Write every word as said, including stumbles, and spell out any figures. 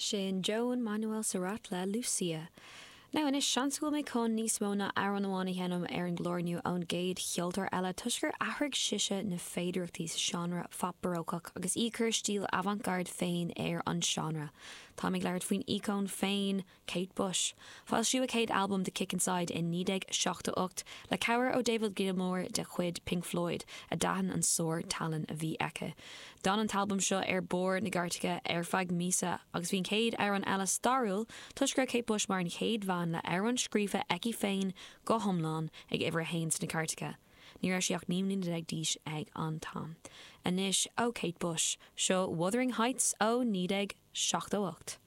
Sin Joan Manuel Serrat le Lucia. Now anois seans go bhfuil mé chun níos mó ná amhrán amháin a sheinm ar an gclár inniu ón gcéad cheoltóir eile toisc gur athraigh sise na féidearthachtaí sa seánra phop barócach agus í ag cur stíl avant-garde féin ar an seánra. Táim ag labhairt faoin íocón féin Kate Bush. Foilsíodh a céad albam The Kick Inside in naoi déag seachtó ocht le cabhair ó David Gilmour de chuid Pink Floyd a d'aithin an sár-tallann a bhí aici. D'fhan an t-albam seo ar barr na gcairteacha ar feadh míosa agus bhí an chéad amhrán eile stairiúil toisc go raibh Kate Bush mar an chéad bhean le amhrán scríofa aici féin go hiomlán ag uimhir a haon sna cairteacha. Ní raibh sí ach naoi mbliana déag d'aois ag an t-am. Anois ó Kate Bush, seo Wuthering Heights ó naoi déag seachtó ocht.